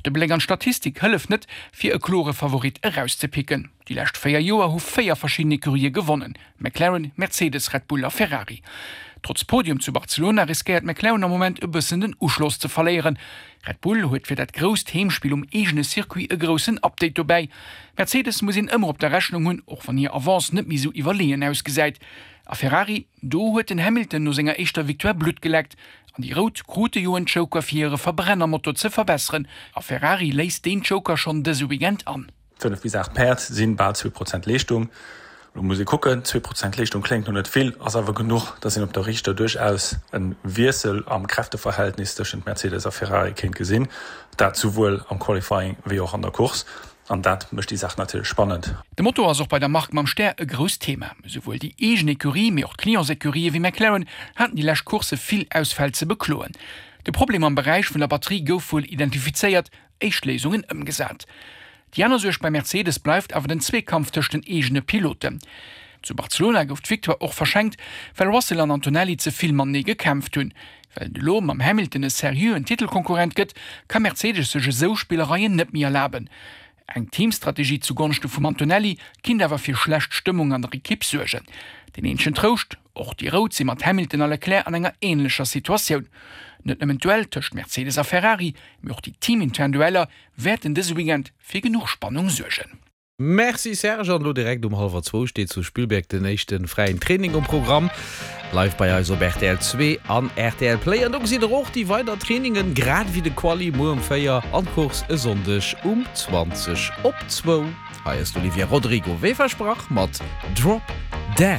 de Bléck an d'Statistik hëlleft net, fir e klore Favorit erauszepicken. Déi lescht 4 Joer hu 4 verschidden Ecurië gewonnen, McLaren, Mercedes, Red Bull a Ferrari. Trotz Podium zu Barcelona riskéiert McLaren am Moment e bëssen den Uschloss ze verléieren. Red Bull huet fir dat grousst Heemspill um eegene Circuit e groussen Update dobäi. Mercedes muss een ëmmer op der Rechnung hunn, och wann hir Avance net méi sou iwwerleeën ausgesäit. A Ferrari, do huet den Hamilton no senger éischter Victoire Blutt geleckt. An déi Rout krute jo en Joker fir hire Verbrennermotor ze verbesseren a Ferrari léist deen Joker schonn dëse Weekend an. 5 bis 8 Päerd sinn bal 2 Prozent Leeschtung. Elo muss ee kucken, 2 Prozent Leeschtung kléngt no net vill, ass awer genuch, datt een op der Riichter duerchaus e Wiessel am Kräfteverhältnis tëschent Mercedes a Ferrari kéint gesinn. Dat souwuel am Qualifying wéi och an der Course. An dat mécht déi Saach natierlech spannend. De Motor ass och bei der Mark mam Stär e grousst Thema. Esouwuel déi eegen Ecurie, mee och d'Clientsecurie wéi McLaren haten déi lescht Coursse vill Ausfäll ze bekloen. De Problem am Beräich vun der Batterie gouf wuel identifizéiert, éischt Léisungen ëmgesat. Déi aner Suerg bei Mercedes bleift awer den Zweekampf tëscht den eegene Piloten. Zu Barcelona gouf d'Victoire och verschenkt, well Russell an Antonelli ze vill matenee gekämpft hunn. Well et elo mam Hamilton e seriöen Titelkonkurrent gëtt, ka Mercedes sech esou Spillereien net méi erlaben. Eng Teamstrategie zu Gonschte vum Antonelli kinnt awer fir schlecht Stëmmung an der Ekipp suergen. Deen eenzegen Trouscht, Och déi Rout si mat Hamilton a Leclerc an enger änlecher Situatioun. Net nëmmen d'Duell tëscht Mercedes a Ferrari, mee och déi teamintern Dueller wäerten dëse Weekend fir genuch Spannung suergen. Merci Serge, an elo direkt um hallwer zwou steet zu Spielberg den éischten fräien Training um Programm. Live bei eis op rtl 2 an rtl Play. An do gesitt der och déi weider Trainingen, grad ewéi de Quali muer um 4 an d'Course e Sonndeg um 20 op zwou. Hei ass d'Olivia Rodrigo wéi versprach mat Drop Dead.